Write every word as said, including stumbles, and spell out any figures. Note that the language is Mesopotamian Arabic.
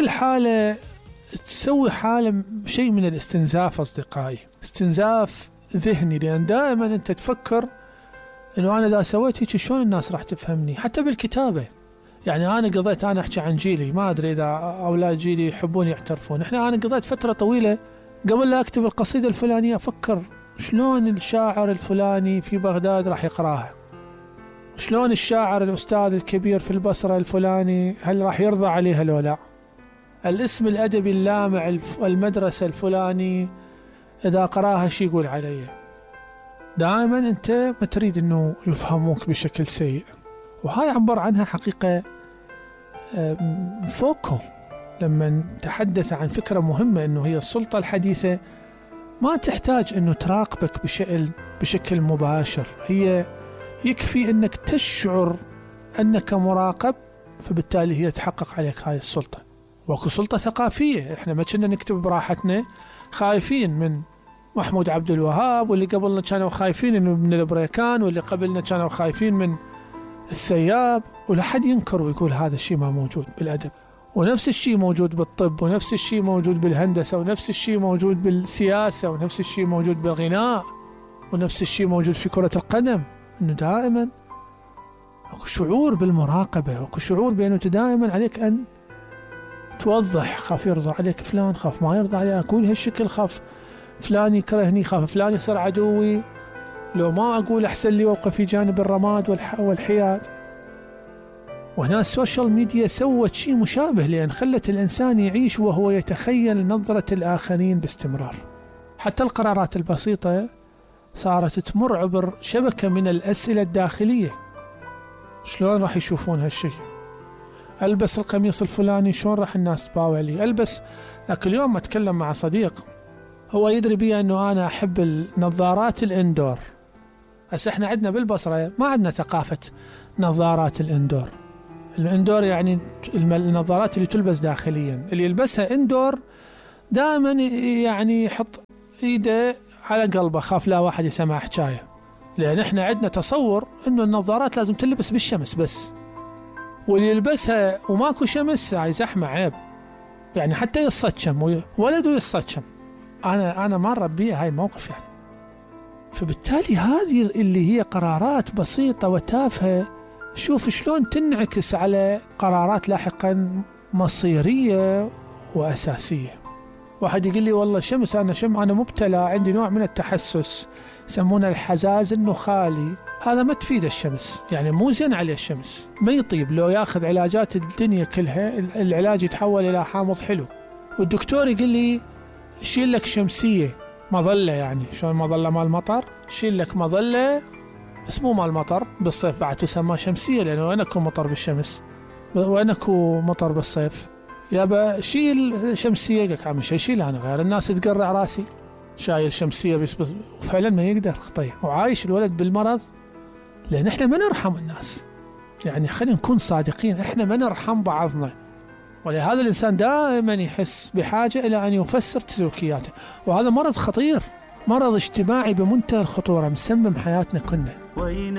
الحالة تسوي حالة شيء من الاستنزاف أصدقائي، استنزاف ذهني، لأن دائما أنت تفكر أنه أنا إذا سويت هيك شلون الناس راح تفهمني. حتى بالكتابة، يعني أنا قضيت، أنا أحكي عن جيلي، ما أدري إذا أولاد جيلي يحبون يعترفون، إحنا أنا قضيت فترة طويلة قبل لا أكتب القصيدة الفلانية أفكر شلون الشاعر الفلاني في بغداد راح يقراها، شلون الشاعر الأستاذ الكبير في البصرة الفلاني هل راح يرضى عليها لو لا، الاسم الأدبي اللامع المدرسة الفلاني إذا قراها شي يقول عليه. دائما أنت ما تريد أنه يفهموك بشكل سيء. وهاي عبر عنها حقيقة فوكو لما تحدث عن فكرة مهمة، أنه هي السلطة الحديثة ما تحتاج أنه تراقبك بشكل, بشكل مباشر، هي يكفي أنك تشعر أنك مراقب، فبالتالي هي تحقق عليك هاي السلطة. وكو سلطة ثقافية، إحنا ما كنا نكتب براحتنا خايفين من محمود عبد الوهاب، واللي قبلنا كانوا خايفين من البريكان، واللي قبلنا كانوا خايفين من السياب، ولحد ينكر ويقول هذا الشيء ما موجود بالأدب. ونفس الشيء موجود بالطب، ونفس الشيء موجود بالهندسة، ونفس الشيء موجود بالسياسة، ونفس الشيء موجود بالغناء، ونفس الشيء موجود في كرة القدم. إنه دائما أكو شعور بالمراقبة، أكو شعور بأنه دائما عليك أن توضح، خاف يرضى عليك فلان، خاف ما يرضى عليك، أقول هالشكل، خاف فلان يكرهني، خاف فلان يصير عدوي، لو ما أقول أحسن لي وأوقف في جانب الرماد والحياد. وهنا السوشيال ميديا سوت شيء مشابه، لأن خلت الإنسان يعيش وهو يتخيل نظرة الآخرين باستمرار. حتى القرارات البسيطة صارت تمر عبر شبكة من الأسئلة الداخلية، شلون راح يشوفون هالشيء؟ ألبس القميص الفلاني شلون راح الناس تباوع لي؟ ألبس. لكن اليوم أتكلم مع صديق هو يدري بي أنه أنا أحب النظارات الإندور. بس إحنا عندنا بالبصرة ما عندنا ثقافة نظارات الإندور. الإندور يعني النظارات اللي تلبس داخليا، اللي يلبسها إندور دائما يعني يحط إيده على قلبه، خاف لا واحد يسمع حكاية، لأن إحنا عندنا تصور أنه النظارات لازم تلبس بالشمس بس، واللي يلبسها وماكو شمس هاي زحمة عيب، يعني حتى يصطشم ولده يصطشم. أنا أنا ما ربيه هاي موقف يعني. فبالتالي هذه اللي هي قرارات بسيطة وتافهة، شوف شلون تنعكس على قرارات لاحقا مصيرية وأساسية. واحد يقول لي والله شمس، أنا شم أنا مبتلى، عندي نوع من التحسس يسمونه الحزاز النخالي، هذا ما تفيد الشمس، يعني مو زين عليه الشمس، ما يطيب، لو ياخذ علاجات الدنيا كلها العلاج يتحول إلى حامض حلو. والدكتور يقول لي شيل لك شمسية مظلة، يعني شلون مظلة مال مطر، شيل لك مظلة بس مو مال مطر، بالصيف بعد تسمى شمسية، لأنه وين اكو مطر بالشمس، وين اكو مطر بالصيف، يابا شيل شمسية. قلت عم شي شيل، أنا غير الناس تقرع راسي شايل شمسية بس, بس وفعلا ما يقدر طيب، وعايش الولد بالمرض، لأن احنا ما نرحم الناس. يعني خلينا نكون صادقين، احنا ما نرحم بعضنا، ولهذا الإنسان دائما يحس بحاجة إلى أن يفسر سلوكياته، وهذا مرض خطير، مرض اجتماعي بمنتهى الخطورة، مسمم حياتنا كلنا.